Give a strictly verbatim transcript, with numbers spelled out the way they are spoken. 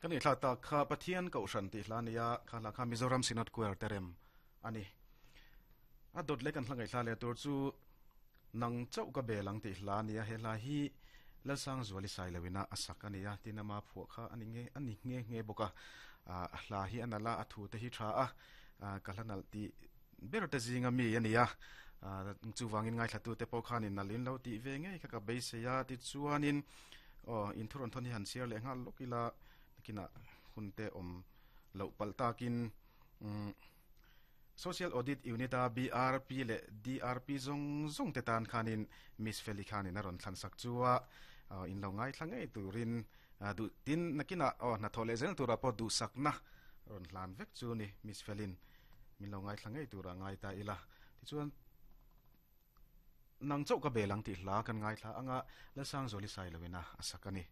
Kan i thla ta kha Pathian Kohhran tih hla nia kha hla kha Mizoram Synod Choir terem ani. A dot le kan hla ngai thla le tur chu Nang Chauh Ka Belang tih hla nia he hla hi Lalsang Zuali Sailawina a sak ania tinama phuah kha ani nge ani nge nge bawka a hla hi anala a thu te hi tha a ka hla nal ti ber te zinga mi ania chuwangin ngai thlatu te pawh khanin nalin lo ti ve ngei kha ka beiseia ti chuanin aw in thuron thon hi han siar leh nghal lawk ila kina hunte om lo pal takin um Social Audit Unit a B R P le D R P zong zong te tan khanin Miss Feli khanin a ron thlan sak chuwa in lo ngai thla ngei turin du tin nakina o na thole zel tura po du sakna ron hlan vek chu ni Miss Felin min lo ngai thla ngei tura ngai ta ila. Ti chuan Nang Chauh Ka Belang ti hla kan ngai thla anga Lalsang Zoli Sailawina asakani.